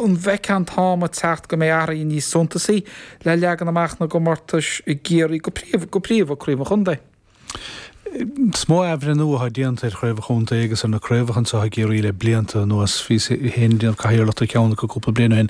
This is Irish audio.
An bhfeicfeá an t-am ag teacht go mbeidh athruithe níos suntasaí le leagan amach na gcomórtais i gCiarraí, go príomha, go príomha Craobh an Chontae? Is mó athbhreithniú atá déanta ar Chraobh an Chontae agus ar na craobhacha anseo i gCiarraí le blianta anuas. Bhíos féin ag déanamh cathaoirleacht ar cheann acu cúpla bliain ó shin.